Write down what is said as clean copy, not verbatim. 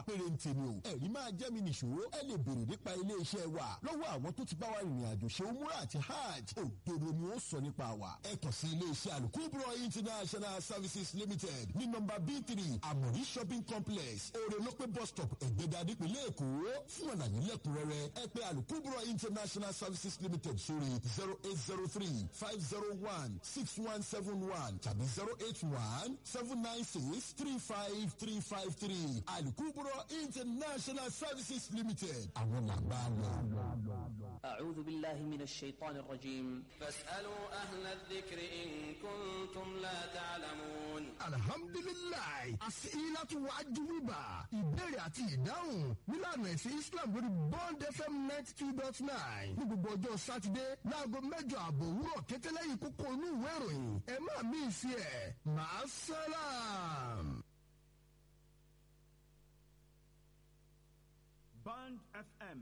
Pérénte ni o, ẹ̀rí máa jẹ́ mi nìṣó. Ẹ lè béèrè nípa ilé-iṣẹ́ wa lọ́wọ́ àwọn tó ti bá wa rìnrìn àjò ṣe umura àti hajj. Òdodo ni ó sọ nípa wa. Ẹ kàn sí ilé-iṣẹ́ Alukubro International Services Limited ní nọ́mbà B3, Amori Shopping Complex, Orelope Bus Stop, Ẹ̀gbẹ́dà, nípìnlẹ̀ Èkó. Fún àlàyé lẹ́kùnrẹ́rẹ́, ẹ pè Alukubro International Services Limited sórí 08035016171 tàbí 08179635353. Alukubro International Services Limited, àwọn làgbà lọ. أعوذ بالله من الشيطان الرجيم. فاسألوا أهل الذكر إن كنتم لا تعلمون. Alhamdulilayi, asilatu wajubiba, ìbéèrè àti ìdáhùn nílànà ẹ̀sìn Islam lórí Bond FM 92.9 ní gbogbo ọjọ́ Sátidé láago 8:30 òwúrọ̀ kété lẹ́yìn kókó inú ìwé ìròyìn. Ẹ má mí sí ẹ̀ màá sálàm. Bond FM.